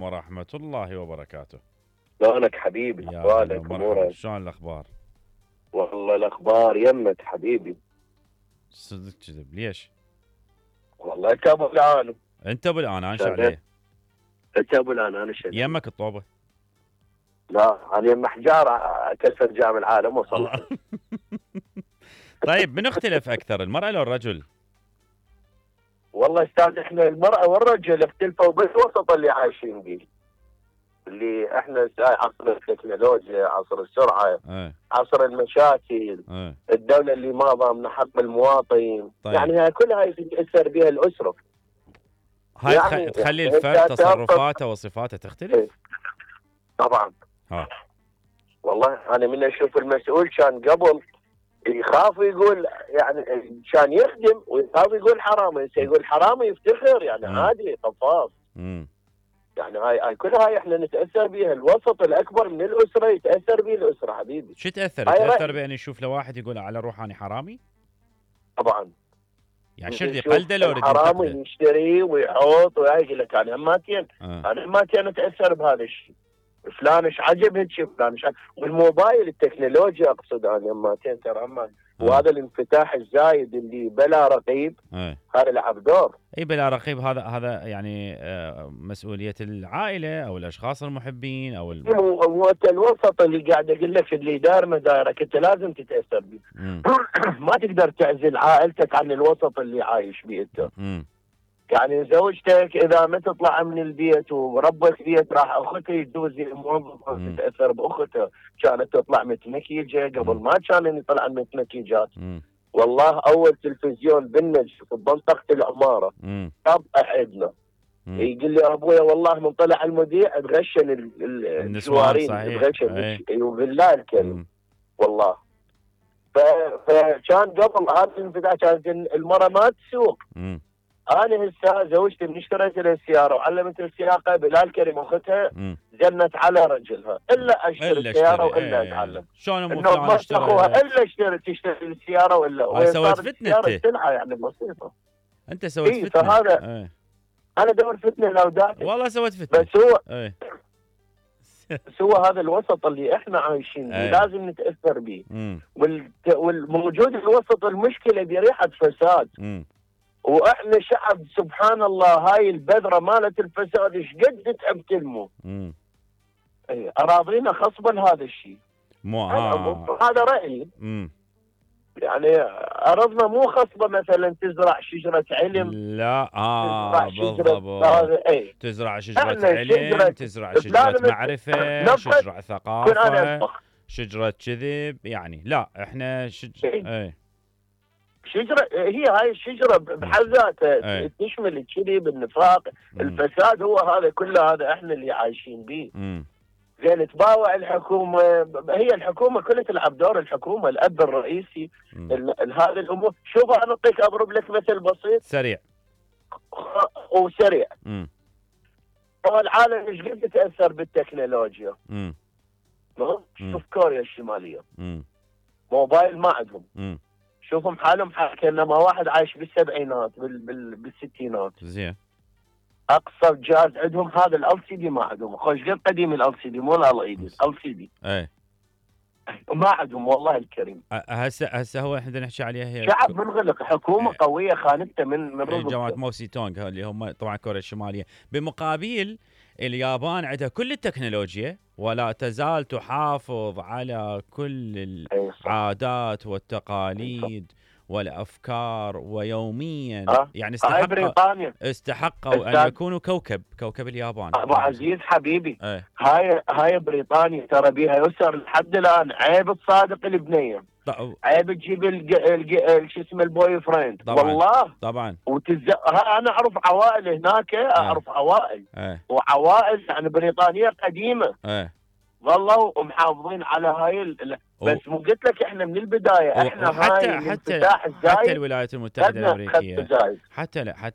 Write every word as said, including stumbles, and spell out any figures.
ورحمة الله وبركاته. شلونك حبيبي؟ يا هلا احوالك ومرحبا، امورك؟ شلون الاخبار؟ والله الاخبار يمك حبيبي. صدق كذب ليش؟ والله انت ابو الان. انت ابو الان انا شغال. عليه. انت ابو الان انا شغال. يمك الطوبة. لا انا يم حجار اكسر جام العالم وصل. الله. طيب من اختلف اكثر، المرأة لو الرجل؟ والله استاذ احنا المرأة والرجل اختلفوا بالوسط اللي عايشين به. اللي احنا عصر التكنولوجيا، عصر السرعة، ايه عصر المشاكل، ايه الدولة اللي ما ضامنة حق المواطن. طيب. يعني هاي كلها يتأثر بها الأسرة. هاي تخ- يعني تخلي يعني الفرد أنت تصرفاته وصفاته تختلف؟ طبعا. ها والله انا من اشوف المسؤول كان قبل يخاف يقول، يعني كان يخدم ويخاف يقول حرامي، هسه يقول حرامي يفتخر، يعني مم. عادي قفاص. امم يعني هاي هاي كل هاي احنا نتاثر بها، الوسط الاكبر من الاسره يتاثر به الاسره حبيبي. شو تاثر؟ هاي تاثر رأيي. بان يشوف لو واحد يقول على روح اني حرامي؟ طبعا يعني شرد يشوف يقلده لو يريد الحرامي ينتقده؟ يشتري ويحط وهاي، يقول لك انا هماتين آه. انا هماتين اتاثر بهذا الشيء. فلان ايش عجب هيك، فلان ايش عجب. والموبايل التكنولوجيا اقصد انا هماتين ترى هم. آه. وهذا الانفتاح الزايد اللي بلا رقيب ايه هذا لعب دور. اي بلا رقيب، هذا هذا يعني آه، مسؤولية العائلة او الاشخاص المحبين او ال... هو الوسط اللي قاعد اقول لك اللي دار مدارك انت لازم تتاثر به. مم. ما تقدر تعزل عائلتك عن الوسط اللي عايش به انت. مم. يعني زوجتك اذا ما تطلع من البيت وربك بيت راح اختها يدوز موظفه مم. تتاثر باختها، كانت تطلع متمكيجه قبل مم. ما كان يطلع متمكيجات. مم. والله اول تلفزيون بالنجف في منطقه العماره مم. طب احدنا مم. يقول لي ابويا والله من طلع المذيع تغشن ال- ال- النسوان الجوارين، صحيح. تغشن اي. ايوه بالله الكريم. مم. والله ف- فكان قبل هذا الانفتاح كانت المراه ما تسوق. مم. انا هسه زوجتي من اشتريت لها السياره وعلمت السياقه بالله الكريم اختها مم. زنت على رجلها الا اشتري الا السياره اشتري. والا ايه. اتعلم. شلون ام انه فلان ما اخوها اشترى؟ الا اشتري تشتري السياره ولا هاي وهي سوت صارت فتنة السياره انت. سلعه يعني بسيطه. انت سويت إيه، فتنة. فهذا- ايه. انا دور فتنه لو داتك. والله سويت فتنة. بس هو ايه. بس هو هذا الوسط اللي احنا عايشين به أي. لازم نتاثر به. مم. والت- والموجود الوسط المشكله بريحه فساد. مم. واحنا شعب سبحان الله هاي البذره مالت الفساد ايش قد تعب تلمو. مم. إيه، اراضينا خصبا هذا الشيء. مو هذا اه. هذا رايي. مم. يعني ارضنا مو خصبه مثلا تزرع شجره علم. لا اه تزرع شجره بالضبط. هذا اي. تزرع شجرة احنا علم، شجرة- تزرع لا، شجرة لما- معرفة، نبت- شجرة كن ثقافة، انا اطبخ شجرة كذب. يعني لا احنا شج... إيه. ايه. شجره، هي هاي الشجره بحد ذاتها أي. تشمل الكذب، النفاق، مم. الفساد، هو هذا كله هذا احنا اللي عايشين به. مم. زين تباوع الحكومه، هي الحكومه كلها تلعب دور الحكومه، الاب الرئيسي مم. ال- ال- هذه الامور. شوف انا اعطيك اضرب لك مثل بسيط سريع. وسريع. مم. هو العالم ايش قد يتاثر بالتكنولوجيا؟ مم. ها؟ مم. شوف كوريا الشماليه مم. موبايل ما عندهم. مم. شوفهم حالهم حال كانما واحد عايش بالسبعينات بال بال بالستينات. زين. اقصى جهاز عندهم هذا ال سي دي ما عندهم. خوش قد قديم ال سي دي مو ال اي دي، ال سي دي ايه. ما عندهم والله الكريم. أ- هسه هسه هو احنا نحكي عليها هي شعب منغلق، حكومه إيه. قويه خانته من من إيه، جماعة رقبته. موسي تونغ اللي هم طبعا كوريا الشمالية. بمقابل اليابان عندها كل التكنولوجيا ولا تزال تحافظ على كل إيه صح. العادات والتقاليد والأفكار، ويوميا أه؟ يعني هاي استحق بريطانيا استحقوا أن أستاذ. يكونوا كوكب كوكب اليابان. ابو عزيز حبيبي، ايه. هاي هاي بريطانيا ترى بيها يسر لحد الان. عيب تصادق البنيه، ط- عيب تجيب الج... الج... شو اسمه البوي فريند. طبعاً. والله طبعا. وتز... ها انا اعرف عوائل هناك، اعرف عوائل ايه. وعوائل يعني بريطانيه قديمه ايه. ظلوا محافظين على هاي ال... بس مو قلت لك احنا من البدايه احنا وحتى هاي حتى الانفتاح حتى الزايد الولايات المتحدة خدنا خد الأمريكية زايد. حتى لا حتى